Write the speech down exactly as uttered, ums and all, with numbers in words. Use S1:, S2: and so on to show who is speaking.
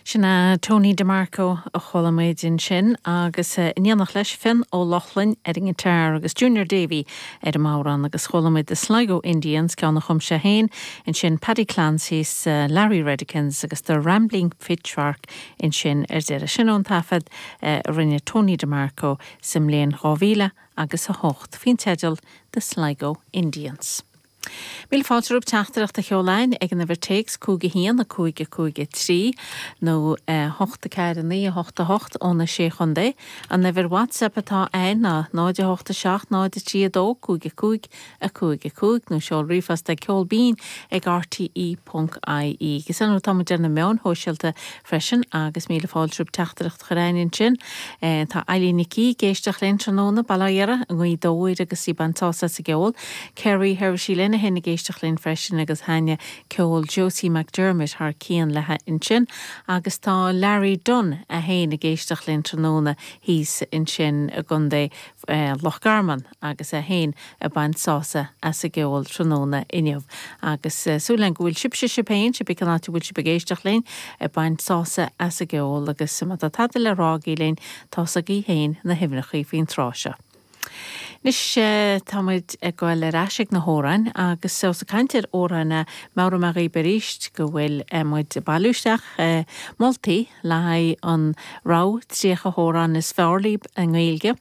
S1: Sin é Tony DeMarco a chuala muid ansin agus in éineacht leis Fionn Ó Lochlainn ar an ngiotár agus Junior Davy ar an mbodhrán agus chuala muid the Sligo Indians ceann a chum sé féin ansin Paddy Clancy's uh, Larry Redikins agus the Rambling Pitchfork ansin ar deireadh sin ón taifead uh, a rinne Tony DeMarco sa mbliain dhá mhíle agus a hocht faoin teideal the Sligo Indians. Míle fáilte romhaibh teachtaireacht a sheoladh ag an uimhir téacs cúig a haon a cúig a cúig a trí nó hocht a ceathair naoi a hocht a hocht ó na sé chontae. An uimhir WhatsApp atá ann ná náid a hocht a seacht náid a trí a dó cúig a cúig a cúig a cúig nó seol ríomhphost ag ceol binn ag RTE.ie. Agus an tá ar na meáin shóisialta freisin agus míle fáilte romhaibh teachtaireacht a chur ansin. Tá Eileen Nic ag éisteacht linn tráthnóna Baile an dóir agus í ag baint sásamh as an gceol. Kerry Hersí lena hin ag éisteacht linn freisin agus thaitnigh ceol Josie McDermott thar cionn léi ansin agus tá Larry Dunn é féin ag éisteacht linn tráthnóna thíos ansin i gContae eh, Loch Garman agus é féin ag baint sásamh as an gceol tráthnóna inniu. agus uh, súil go bhfuil sibhse sibh féin cibé cén áit a bhfuil sibh ag éisteacht linn ag baint sásamh as an gceol agus má tá tada le rá agaibh linn tá agaibh féin na huimhreacha faoin tráth seo. Anois tá muid ag goil ar ais ag na hamhráin agus sa caint ar amhráin meabhróidh mé dhaoibh arís go bhfuil muid ag bailiú isteach moltaí le haghaidh an rogha tríocha amhrán is fearr libh i nGaeilge.